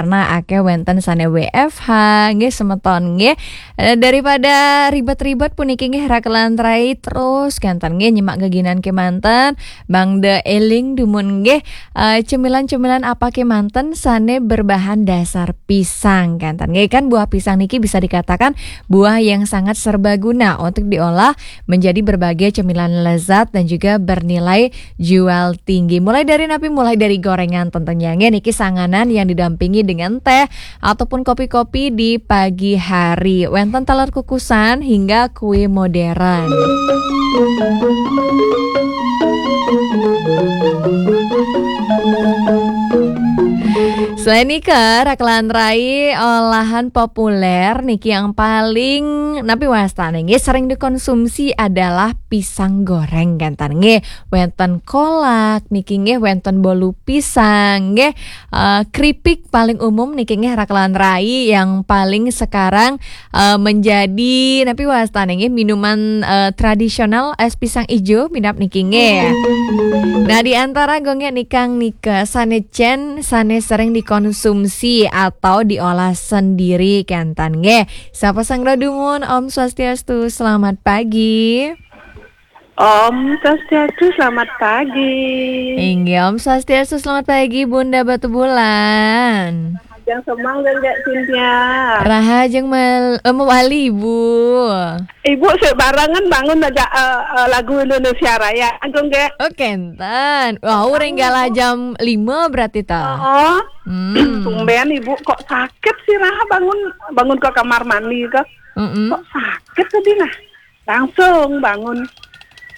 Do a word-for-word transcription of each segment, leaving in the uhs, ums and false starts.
Nah, akeh wenten sane W F H, nggih semeton nggih. Eh, daripada ribet-ribet puniki nggih rakelan rai terus kenten nggih nyemak geginan kemanten, mangda eling dumun nggih, eh, cemilan-cemilan apa kemanten sane berbahan dasar pisang kenten nggih. Kan buah pisang niki bisa dikatakan buah yang sangat serbaguna untuk diolah menjadi berbagai cemilan lezat dan juga bernilai jual tinggi. Mulai dari napi, mulai dari gorengan tentunya nggih niki sanganan yang didampingi dengan teh ataupun kopi-kopi di pagi hari. Wenten taler kukusan hingga kue modern. Selain nika, rakelan rai olahan populer niki yang paling napi wastane nggih sering dikonsumsi adalah pisang goreng kenten nggih. Wenten kolak niki nggih, wenten bolu pisang nggih. Eh, keripik paling umum niki nggih rakelan rai yang paling sekarang, eh, menjadi napi wastane nggih minuman, eh, tradisional es pisang ijo minap niki nggih. Nah, di antara gongge nikang nika sane cen sane sering dikonsumsi atau diolah sendiri kenten nggih. Sapa sang dumun? Om Swastiastu, selamat pagi. Om Swastiastu, selamat pagi. Inggih, Om Swastiastu, selamat pagi Bunda Batu Bulan. Rahajeng semang dan Cynthia. Rahajeng mal, eh, mewali Ibu. Ibu sik barengan bangun aja, eh, eh, lagu Indonesia Raya. Agung ge. Oh, kenten. Wah, uring galah jam lima berarti ta. Oh. Hmm. Tumben Ibu kok sakit sih Raha bangun, bangun ke kamar mandi ke. Mm-mm. Kok sakit tadi nah? Langsung bangun.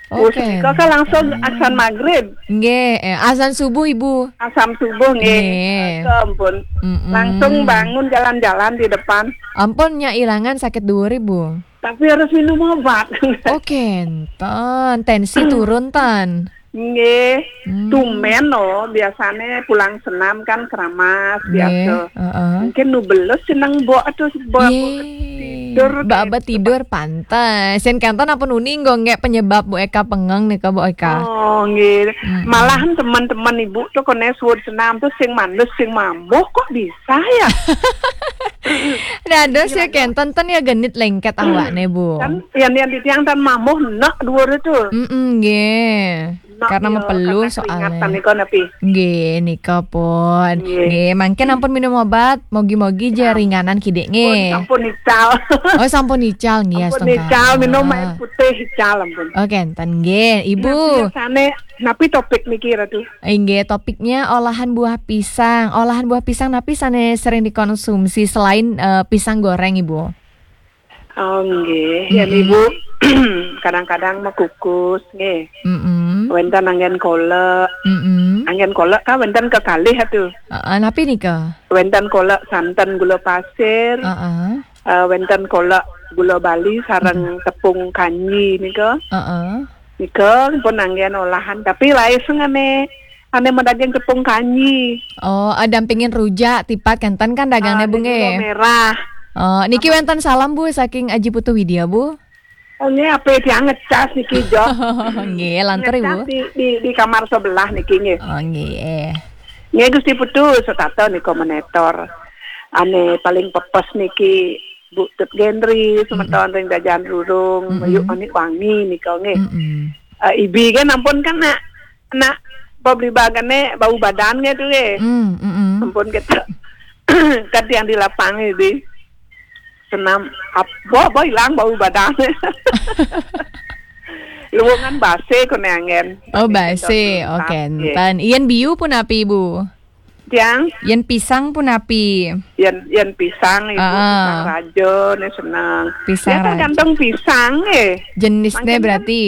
Oke. Terus kok kan langsung azan maghrib. Nggih, eh, azan subuh Ibu. Azan subuh nggih. Nggih. Ampun. Mm-mm. Langsung bangun jalan-jalan di depan. Ampun nya ilangan sakit dhuwur Ibu. Tapi harus minum obat. Oke, enten. Tensi turun tan. Nggih, hmm. Tumben loh, biasane pulang senam kan keramas, nggih, biasa. Heeh. Mungkin nu belus seneng mbok aduh mbok tidur. Mbak abet tidur pantes. Sen kanten apa nuni nggo nggek penyebab Bu Eka pengeng nika Bu Eka? Oh, nggih. Mm-mm. Malahan teman-teman Ibu tuh kone suwun senam tuh sing mandes sing mambuh kok bisa ya? Dados ya kenten ten ya genit lengket awakne Bu. Kan yang yang di tiang tan mambuh nek dhuwur itu. Mm-mm, nggih. Karena mepelu soalnya. Nggih, nika pun. Nggih. Nggih, mangkin ampun minum obat, mogi-mogi ja ringanan kidik nggih. Ampun, sampun ical. Oh, sampun ical nggih, ampun astungkara. Ical, minum air putih ical ampun. Oke, enten nggih, Ibu. Napi sane, napi topik niki Ratu? Inggih, topiknya olahan buah pisang. Olahan buah pisang napi sane sering dikonsumsi selain, eh, pisang goreng, Ibu? Oh, nggih. Ya, mm-mm. Ibu, kadang-kadang mekukus, nggih. Mm-mm. Wenten anggen kolek. Mm-mm. Anggen kolek kan wenten kekalih atuh. Heeh, napi nika? Wenten kolek santen gula pasir. Heeh. Eh, wenten kolek gula Bali sareng tepung kanji nika. Heeh. Nika pun anggen olahan, tapi laiseng ane, ane madaging tepung kanji. Oh, eh, dampingin rujak tipat kenten kan dagangne, ah, Bu, nggih? Gula merah. Oh, niki wenten salam, Bu, saking Aji Putu Widya, Bu. Oh, nggih, ape tiang ngecas niki, Jo. Nggih, lantur, Ibu. Ngecas di, di, di kamar sebelah niki, nggih. Oh, nggih. Nggih, Gusti Putu, setata nika menetor. Ane paling pepes niki Bu Tut Gendri, semeton ring Dajan Rurung, mm-mm. Mayuk Manik Wangi nika nggih. Mm-mm. Eh, Ibi kan ampun kan nak, nak pabligbaganne bau badan nggih tu nggih. Mm, mm-mm. Ampun kita. Kan yang di lapang Ibi. Senam ap-, boh, boh ilang bau badan. Luwungan base kone anggen. Oh, base. Oke, nggih. Enten. Yen biu punapi, Bu? Tiang? Yen pisang punapi? Yen, yen pisang, Ibu, ah, pisang raja ne seneng. Pisang ya, raja. Tergantung pisang, eh. Jenisnya mangkin kan berarti?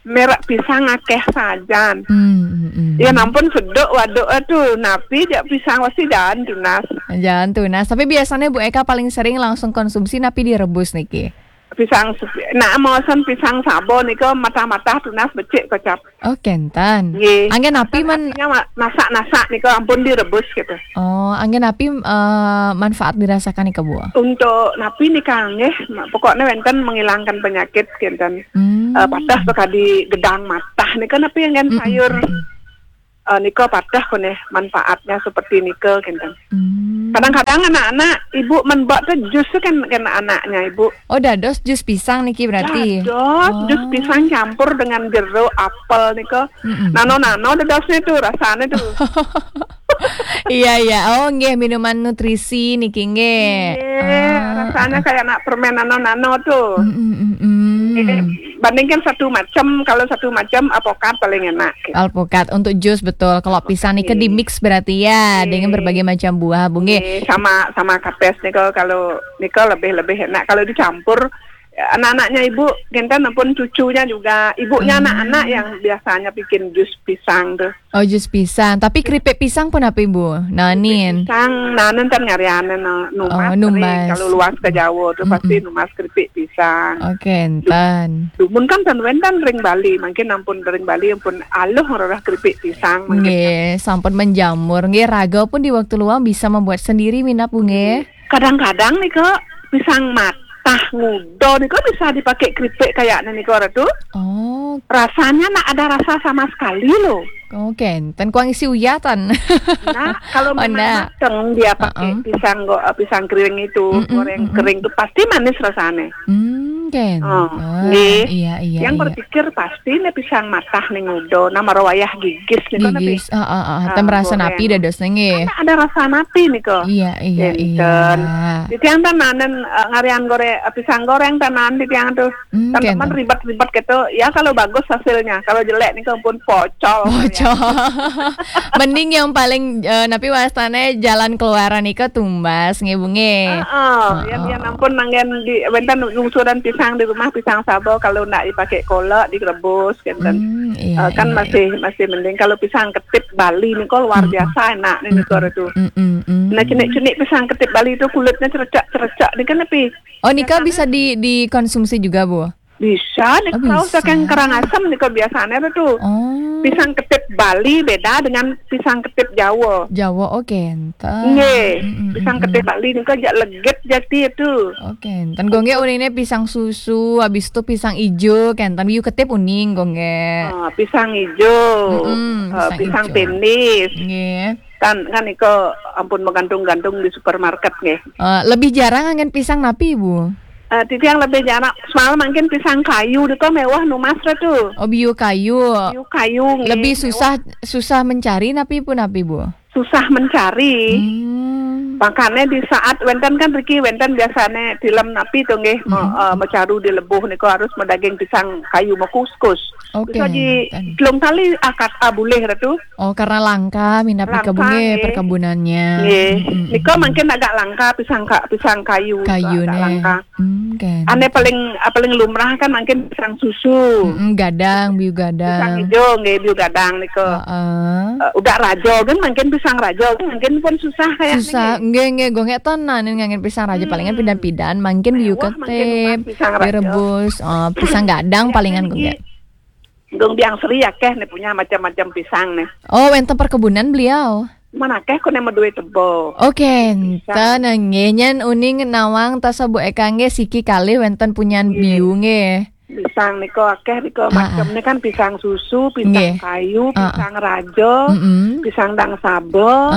Merek pisang akeh sajan. Hmm, hmm, hmm. Ya, nampun seduk waduk aduh, napi jak pisang pasti jalan tunas. Jalan tunas. Tapi biasanya Bu Eka paling sering langsung konsumsi napi direbus niki? Pisang sepi-, nah, maosan pisang sabo nika matah-matah tunas becik kocap. Oh, kenten. Nggih. Anggen napi man- artinya ma-, masak-masak nika ampun direbus gitu. Oh, anggen napi, eh, manfaat dirasakan nika, Bu? Untuk napi nika nggih, ma-, pokoknya wenten menghilangkan penyakit kenten. Hmm. Eh, patah sekali gedang matah nika napi anggen sayur. Mm-mm. eh, nika patah koneh manfaatnya seperti nika kinten. Hmm. Kadang-kadang anak-anak ibu men buat tu jus tu kan, kan anaknya ibu. Oh, dados jus pisang niki berarti? Dados jus pisang campur dengan jeruk, apel nika. Mm-mm. Nano-nano dadosnya tu rasanya tu. Iya, iya. Oh, nggih, minuman nutrisi niki nggih. Iya, ah, rasanya ah, kayak nak permen nano-nano tu. Mm-mm, mm-mm. Nggih, bandingkan satu macam, kalau satu macam alpukat paling enak. Alpukat untuk jus betul. Kalau pisang nika di mix berarti ya, iya, dengan berbagai macam buah, Bu nggih. Nggih, sama, sama kapes nika, kalau nika lebih, lebih enak kalau dicampur. Anak-anaknya ibu kinten pun cucunya juga, ibunya anak-anak yang biasanya bikin jus pisang tu. Oh, jus pisang. Tapi keripik pisang pun apa, Ibu? Nanin. Pisang, nanin kan ngarianan, no, numas. Oh, numas. Kalau luas ke Jawa tu pasti numas keripik pisang. Oke, enten. Dumun kan ten wenten ring Bali, mungkin ampun ring Bali ampun aluh ngerorah keripik pisang mungkin. Nggih, sampun menjamur. Nggih, raga pun di waktu luang bisa membuat sendiri minap, Bu nggih. Kadang-kadang nika pisang matah nguda nika bisa dipakai keripik kayaknya nika, Ratu. Oh. Rasanya nak ada rasa sama sekali loh. Oh, kenten kuang isi uyatan. Nah, kalau memang mateng dia pakai pisang go-, eh, pisang kering itu, goreng kering itu pasti manis rasanya. Hmm, kenten. Oh, nggih. Iya, iya. Yang berpikir pasti nih pisang matah nih nguda, nama rawayah gigis nih kan. Gigis, heeh, heeh. Tem rasa napi dados nggih. Kan ada rasa napi nih kok. Iya, iya, iya. Di tiang tenanan, eh, ngarian goreng, eh, pisang goreng tenan di tiang tuh. Hmm, teman ribet-ribet gitu. Ya kalau bagus hasilnya, kalau jelek nih ampun pocol. Pocol. Mending yang paling, eh, napi wastane jalan keluaran nika tumbas nggih, Bu nggih. Heeh, yang, yang ampun nanggen di wenten ngusuran pisang di rumah, pisang sabo kalau ndak dipakai kolak, direbus gitu. Hmm, iya, kan iya, masih, iya, masih mending kalau pisang ketip Bali nih kok luar biasa enak nih nih itu. Nah, cenik-cenik pisang ketip Bali itu kulitnya cerecak-cerecak nih kan napi. Oh, nika bisa di, dikonsumsi juga, Bu? Bisa, nih, oh, kalau bisa. Saking Karangasem nih kok biasanya tuh. Oh. Pisang ketip Bali beda dengan pisang ketip Jawa. Jawa, oke, enten. Nggih, pisang ketip Bali nih kok jak legit jati itu. Oke, enten. Gongge unine pisang susu, habis itu pisang ijo, kenten. Biu ketip uning, gongge. Ah, pisang ijo, eh, pisang pinis. Nggih. Kan, kan iko ampun menggantung-gantung di supermarket nggih. Eh, lebih jarang angin pisang napi, Bu? Eh, titiang lebih jarang, semalam mungkin pisang kayu diko mewah numas tu. Oh, biu kayu. Biu kayu nggih, lebih mewah. Susah, susah mencari napi pun napi, Bu? Susah mencari. Hmm. Makanya di saat wenten kan riki wenten biasane film napi tu nggih, me-, eh, mecaru di lebuh niko harus medaging pisang kayu mekuskus. Oke, bisa di telung kali akad, ah, boleh tu. Oh, karena langka minat di kebun nggih, perkebunannya. Nggih. Nika mungkin agak langka pisang ka-, pisang kayu. Kayu agak langka. Hmm, kan. Ane paling, ah, paling lumrah kan mungkin pisang susu. Mm-mm, gadang, biu gadang. Pisang hijau nggih, biu gadang nika. Heeh. Eh, udah rajo kan mungkin pisang rajo kan mungkin pun susah kayak susah, nggih, nggih, gongek tenan ngangen pisang rajo palingan pidan-pidan, mungkin biu ketip, pisang rajo. Direbus, eh, pisang gadang palingan gongek. Dong biang Sri akeh nih punya macam-macam pisang nih. Oh, wenten perkebunan beliau. Mana akeh kok nih medue tebo. Oke, enten nggih nyen uning nawang tasa Bu Eka nggih siki kalih wenten punyan biu nggih. Pisang niko akeh niko macam nih kan pisang susu, pisang kayu, pisang rajo, pisang dang sabo,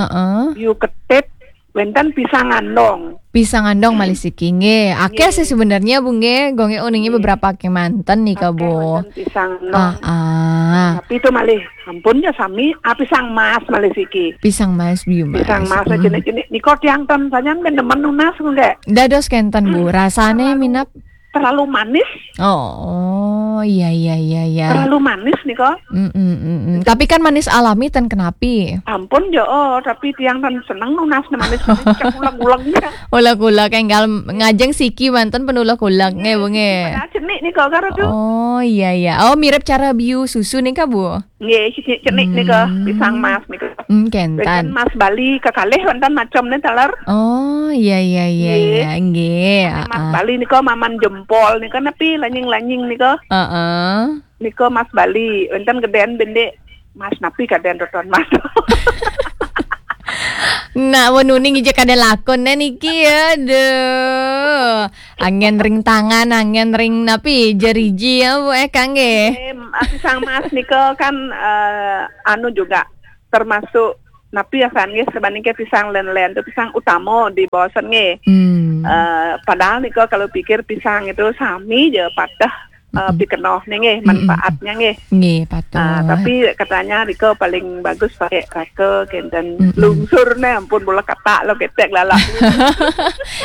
biu ketip, wenten pisang andong. Pisang andong malih siki nggih. Akeh sih sebenarnya, Bu nggih. Gongge uningnya beberapa akeh manten nih, Bu. Akeh manten pisang andong. Ah, ah. Tapi itu malih ampun ya sami, ah, pisang mas malih siki. Pisang mas, biu mas. Pisang mas jenik-jenik niko tiang ten sajan ben demen nunas nggih. Dados kenten, Bu. Rasane minap terlalu manis. Oh, iya, iya, iya, iya. Terlalu manis nih kok. Mm, mm, mm, mm. Tapi kan manis alami ten kenapi. Ampun jo, oh, tapi tiang kan seneng nunas nih manis-manis, cak ulek-uleknya. Ulek-ulek enggal ngajeng siki manten pun ulek-ulek nggih, Bu nggih. Padahal cenik nih kok karo tuh. Oh, iya, iya. Oh, mirip cara biu susu nih kak, Bu? Nggih, cenik-cenik nika, pisang mas nika. Hmm, kenten. Wenten mas Bali kekalih wenten macam nih taler. Oh, iya, iya, iya, iya, nggih. Mas Bali nika maman jempol nika nepi lanying-lanying nika. Heeh. Nika mas Bali, wenten geden bendik mas napi kaden roton mas. Nak wenuni ngijek kada lakon nih niki, aduh. Angin ring tangan, angin ring napi, jeriji ya, Bu, eh, kangge. Em, ah, pisang mas nika kan, eh, anu juga, termasuk napi asan nggih, sabandingke pisang len-len tu, pisang utama di bawah asan nggih. Hmm. Eh, padahal nika kalau pikir pisang itu sami je pateh, eh, pikenoh ni nggih, manfaatnya nggih. Nggih, patut. Ah, tapi katanya nika paling bagus pakai raka kenten. Mm-mm. Lungsur ne ampun bola katak lo ketek lalak.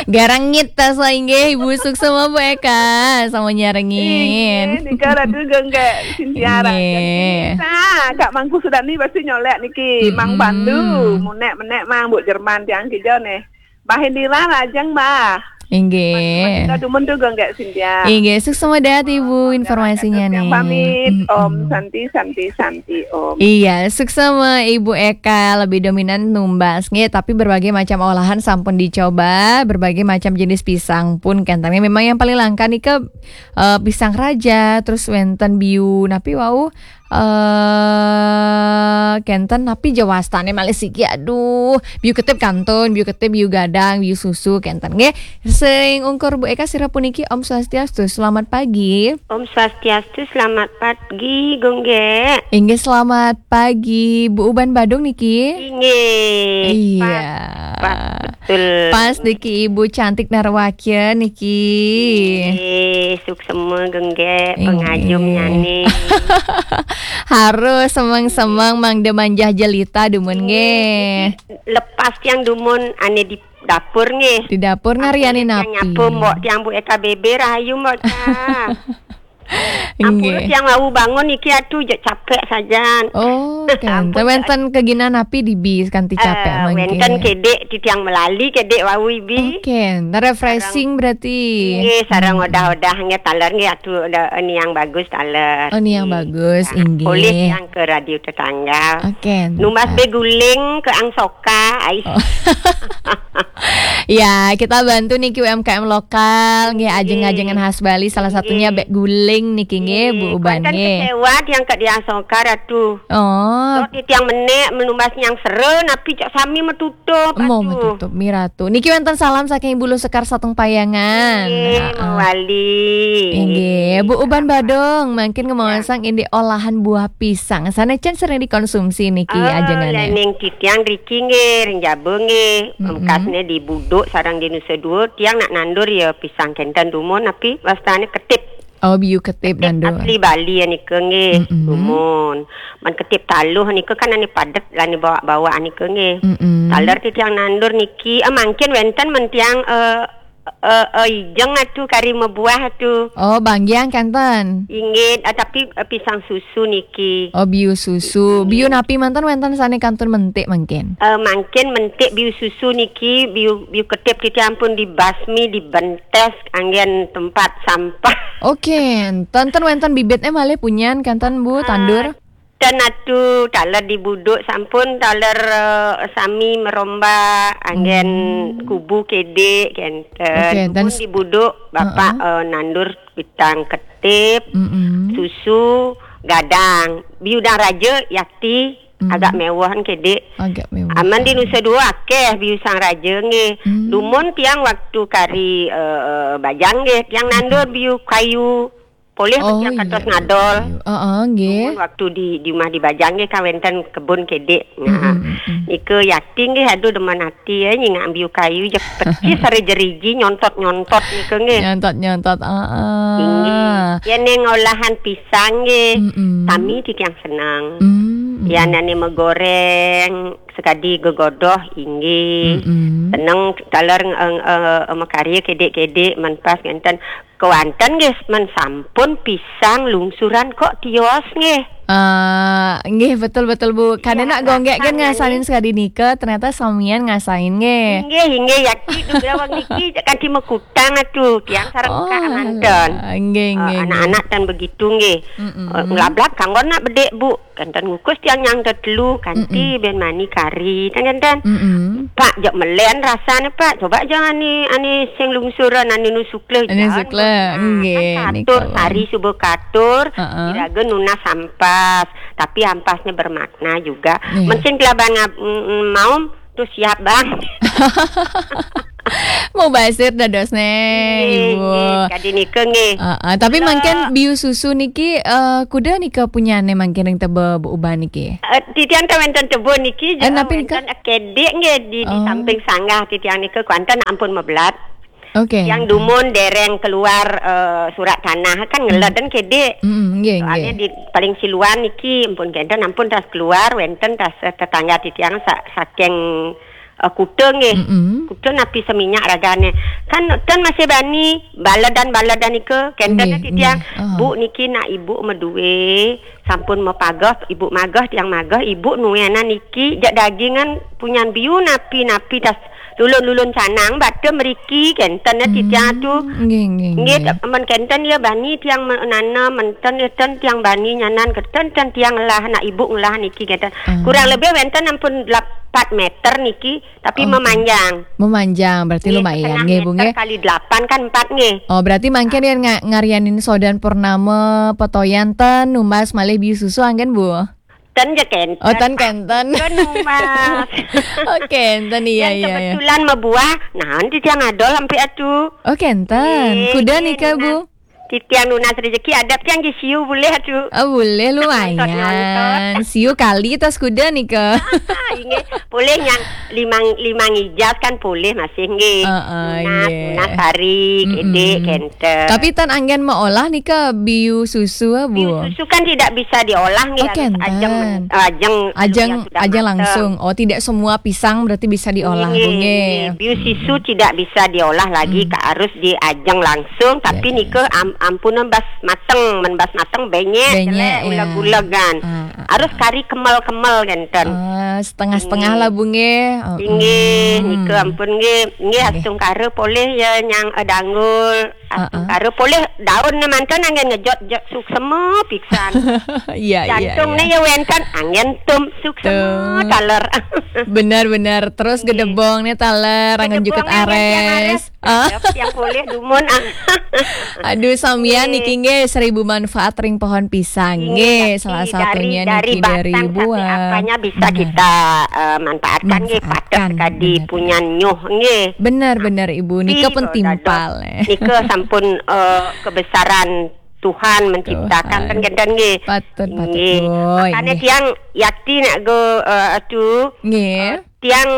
Garangit tas lah inggih, Ibu suksma Bu Eka, sama nyarengin. Inggih, nika Ratu Genggek Sintia Raja. Nggih. Nah, Kak Mangku Sudani pasti nyolek niki, Mang Pandu, munek-menek Mang, Bu Jerman tiang kija nih. Mbah Indira lajeng, Mbah. Inggih. Kita dumun tu Genggek Sintia. Inggih, suksma dahat Ibu informasinya nih. Pamit. Mm-mm. Om Santi, Santi, Santi, Om. Iya, suksma Ibu Eka lebih dominan numbas nggih, tapi berbagai macam olahan sampun dicoba, berbagai macam jenis pisang pun kenten. Memang yang paling langka nika, eh, pisang raja, terus wenten biu, napi wau, eh, kenten napi je wastane malih siki, aduh, biu ketip kantun, biu ketip, biu gadang, biu susu kenten nggih. Sing ungkur Bu Eka sira puniki, Om Swastiastu, selamat pagi. Om Swastiastu, selamat pagi, Genggek. Inggih, selamat pagi, Bu Uban Badung niki. Inggih. Iya. Pas, pas, betul. Pas niki Ibu cantik Narwakya niki. Inggih, suksma Genggek, nggih, pengajum nyane. Harus semeng-semeng mangda manjah jelita dumun nggih. Lepas tiang dumun ane di dapur nggih. Di dapur ngariane napi? Tiang nyapu, Mbok, tiang Bu Eka B B, rahayu, Mbok, Ca. Ampun, nggih, tiang wau bangun iki, aduh, jek capek sajan. Oh, ampun, wenten keginan napi dibi kanti capek mangkin? Wenten kedek, titiang melali kedek wau ibi. Oke, refreshing sareng berarti. Nggih, sareng odah-odah nggih, taler nggih, aduh, odah, ini yang bagus taler. Oh, ini yang bagus, nah, inggih. Oleh yang ke radio tetangga. Oke. Numbas beguling ke Angsoka, ai. Oh. Ya, kita bantu niki U M K M lokal, nggih, nggih, ajeng-ajengan khas Bali, salah satunya, nggih, bek guling niki, nggih, nggih, Bu Uban, wenten nggih, kecewa tiang ke di Angsoka, Ratu. Oh. Sok di tiang menek, menumbas nyang seren, napi cok sami metutup, Ratu. Metutup, mi Ratu. Niki wenten salam saking Bulu Sekar Sateng Payangan. Nggih, heeh, mawali. Inggih, Bu Uban Badung, mangkin ngemaosang indik olahan buah pisang. Sane cen sering dikonsumsi niki, ah, ajengane. Lening titiang riki nggih, ring jaba nggih. Mm-mm. Bekasne di Buduk sareng di Nusa Dua, tiang nak nandur ya pisang kenten dumun, napi wastane ketip. Oh, biu ketip nandur. Asli Bali nika nggih, mm-mm, dumun. Man ketip taluh nika kan ane padet, ane bawak-bawak nika nggih. Mm-mm. Taler titiang nandur niki, eh, mangkin wenten mentiang, eh, eh, eh, ijeng atu kari mebuah atu. Oh, banggiang kenten. Inggih, eh, tapi, eh, pisang susu niki. Oh, biu susu. Inggih. Biu napi manten wenten sane kantun mentik mangkin? Eh, mangkin mentik biu susu niki, biu, biu ketip titiang pun dibasmi, dibentes anggen tempat sampah. Oke, enten wenten bibitne malih punyan kenten, Bu, tandur? Ten atu, taler di Buduk sampun, taler, eh, sami merombak anggen, hmm, kubu kedek kenten. Oke, dan dumun di Buduk, Bapak, heeh, eh, nandur pisang ketip, mm-mm, susu, gadang. Biu dang raja, yakti, mm-mm, agak mewahan kedek. Agak mewah. Aman di Nusa Dua akeh biu sang raja nggih. Hmm. Dumun tiang waktu kari, eh, eh, bajang nggih, tiang nandur, mm-mm, biu kayu. Polih, oh, tiang katos, iya, ngadol. Iya. Heeh, nggih. Dumun waktu di, di rumah di bajang nggih, kan wenten kebun kedek. Nah, mm-mm, mm-mm, nika yakti nggih, aduh, demen ati ya, nyingak biu kayu, je peci sare jeriji, nyontot-nyontot nika nggih. Nyontot-nyontot, heeh. Inggih. Ya, ning olahan pisang nggih, mm-mm, sami titiang seneng. Mm-mm. Ya, nane megoreng, sekadi gegodoh, inggih. Mm-mm. Seneng taler, eh, eh, eh, makarya kedek-kedek, men pas ngenten. Kewanten nggih, men sampun pisang lungsuran kok tios nggih. Ah, nggih, betul, betul, Bu. Kade nak Gonggek kan ngasain sekadi nika, ternyata samian ngasain nggih. Inggih, inggih, yakti dugra wong niki kanti mekutang atu, tiang sareng, oh, kak manten. Alah, nggih, eh, nggih, nggih, anak-anak tan begitu nggih. Mm-mm. Eh, nglablak kanggo nak bedek, Bu. Kenten ngukus tiang nyang tetelu, kanti, mm-mm, ben mani kari, kan kenten. Mm-mm. Pak, jok melen rasane, Pak. Coba jok ane, ane sing lungsuran, ane nu sukle. Ane sukle, nggih, kan katur, nika, sari suba katur, heeh, iraga nunas ampas. Tapi ampasnya bermakna juga. Iya. Mesin kelaban ngab-, mm, mm, maum, tuh siap, Bang. Oh, basir dados neh, Nggih, Ibu. Nggih, kadi nika nggih. Heeh, tapi Kula mangkin biu susu niki, eh, kuda nika punyane mangkin ring teba Bu Uban niki? Eh, titiang ten wenten teba niki, Eh, je, napi nika? Wenten kedik nggih di, di Oh. samping sanggah titiang nika, kuanten ampun mebelat. Oke. Yang dumun dereng keluar, eh, surat tanah kan ngeleden kedik. Mm, nggih, Soalnya nggih. Di paling siluan niki ampun kenten ampun tas keluar wenten tas, eh, tetangga titiang sa-, saking, eh, kuta nggih. Mm-mm. Kuta napi seminyak ragane. Kan ten masih bani baledan-baledan nika kenten Nggih, titiang. Nggih. Aha. Bu niki nak ibu medue sampun mapageh, ibu mageh, tiang mageh, ibu nuenan niki, jak dagingan punyan biu napi-napi tas lulun-lulun canang, bata meriki, kenten ya titiang tu. Hmm, nggih, nggih, Nggih, nggih. Amun kenten ya bani tiang me-, nanem, menten ya ten tiang bani nyanan, keten ten tiang ngelah, nak ibu ngelah niki, kenten. Ah. Kurang lebih wenten ampun lapan meter niki, tapi Oh, memanjang. Memanjang, berarti Nggih, lumayan, setengah nggih, Bu, meter nggih. Kali delapan kan empat, nggih. Oh, berarti mangkin Ah. Yang nga-, ngarianin sodan purnama, petoyan ten, numbas malih biu susu, anggen, Bu? Ten je kenten. Oh, ten kenten. Ten numbas. Oh, kenten, iya, Yang iya, iya. Kebetulan mebuah, nah, nanti tiang adol sampai atu. Oh, kenten. Nggih, Kuda nggih, nika, nunas. Bu? Titiang nunas rezeki, adap tiang di siu boleh atu. Oh, boleh, lumayan. Nonton, nonton. Siu kali tas kuda nika. Inggih, boleh yang limang, limang ijas kan boleh masih, nggih. Heeh, Nunas, inggih. Nunas hari, Mm-mm. Kedik, kenten. Tapi tan anggen meolah nika biu susu, ah, Bu? Biu susu kan tidak bisa diolah, nggih, Oh, harus kenten. Ajeng men-, ajeng, ajeng, sudah ajeng mateng. Langsung. Oh, tidak semua pisang berarti bisa diolah, Nggih, Bu, nggih. Nggih. Biu susu tidak bisa diolah lagi, Hmm. Ka-, harus diajeng langsung, tapi Ya, ya, nika ya. Am-, ampunan bas mateng, men bas mateng benyek, Benyek, jelek, ya. Uleg-ulegan. Ah, ah, Harus ah. Kari kemel-kemel, kenten. Ah, setengah-setengah Nggih. Lah, Bu, nggih. Oh, Inggih, hmm. Nika ampun, nggih. Nggih, Nggih. Astungkara polih ya, nyang, eh, danggul. Heeh. Astungkara polih daun ne manten anggen ngejot-jot suksema pisan. Iya, iya, Jantung iya. Ne ya wenten anggen tum suksema Tum. Taler. Benar, benar. Terus Nggih. Gedebong ne taler, anggen Gedebong juket anggen tiang ares. Ares. Ah. Yang polih dumun, ah. Aduh, samian Nggih. Niki nggih seribu manfaat ring pohon pisang. Nggih, Nggih, tapi salah dari, satunya dari niki dari batang sampai buah. Apanya bisa Benar. Kita, eh, manfaatkan, nggih, Manfaatkan, patut kadi benar. Punyan nyuh, nggih. Benar, benar, Ibu. Nika Tapi, pun eh, timpal, dados eh. Nika sampun, eh, kebesaran Tuhan menciptakan Tuhan. Kan kenten, nggih. Patut, patut, Nggih. Boy, Makanya nggih. Tiang yakti nak go, eh, atu. Nggih. Eh, tiang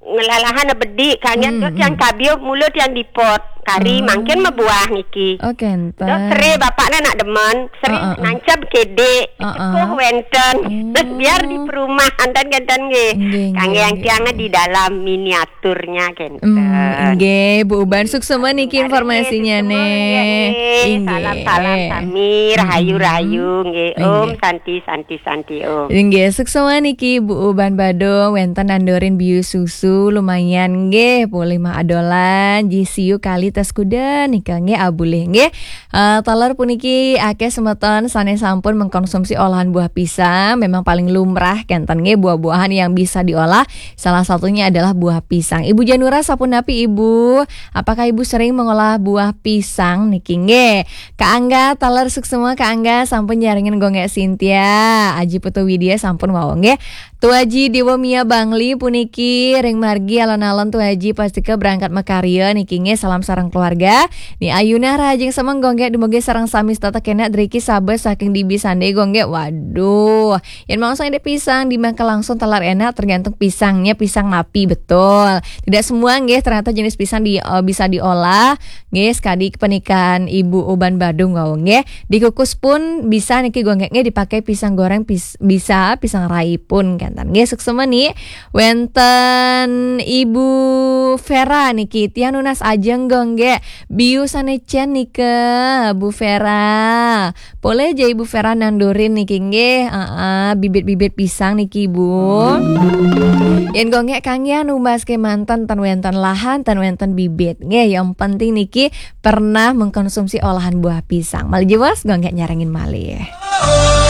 ngelalahan bedik, kangen Hmm, tu tiang hmm. Kabio mula tiang dipot. Kari Oh. Mangkin mebuah niki. Oh, kenten. Dot sere bapaknya nak demen, sering Ah, ah, ah. Nancap kedik, Ah, ah. Cepuh wenten. Oh. Biar di perumahan dan kenten nggih. Nggih, Kang nggih, yang nggih, tiang nggih. Di dalam miniaturnya kenten. Hmm, nggih, Bu Uban, suksema niki Karen informasinya nggih, suksema nggih. Nggih. Salam-salam sami, rahayu-rahayu nggih. Nggih. Om Santi, Santi, Santi, Om. Nggih, suksema niki Bu Uban Badung, wenten nandurin biu susu, lumayan nggih, polih mah adolan, ji siu kali tas kuda nika nggih, abulih nggih. Eh, taler puniki akeh semeton sane sampun mengkonsumsi olahan buah pisang, memang paling lumrah kenten nggih buah-buahan yang bisa diolah, salah satunya adalah buah pisang. Ibu Janura sapunapi Ibu? Apakah Ibu sering mengolah buah pisang niki nggih? Kak Angga, taler suksema Kak Angga, sampun nyarengin Gonggek Sintia, Aji Putu Widya sampun wau nggih. Tu Aji Dewa Mia Bangli puniki ring margi alon-alon Tu Aji pastika berangkat makarya niki nggih, salam sareng keluarga. Ni Ayuna Rahajeng Semeng Gonggek dumugi sareng sami setata kenak driki sabar saking dibi sande Gonggek. Waduh, yen mangsa indik pisang dimakan langsung taler enak, tergantung pisangnya pisang napi betul. Tidak semua nggih ternyata jenis pisang di, eh, bisa diolah. Nggih, sekadi kepanikan Ibu Uban Badung wau nggih. Dikukus pun bisa niki Gonggek nggih, dipakai pisang goreng pis-, bisa, pisang rai pun kenten. Nggih, suksema ni. Wenten Ibu Vera niki, tiang nunas ajeng Gonggek. Biu sane cen nika, Bu Vera. Polih ja Ibu Vera nandurin niki nggih. Heeh, bibit-bibit pisang niki, Bu. Yen Gonggek kanggihan numbas kemanten ten wenten lahan, ten wenten bibit. Nggih, yang penting niki pernah mengkonsumsi olahan buah pisang. Malih jelas Gonggek nyarengin malih.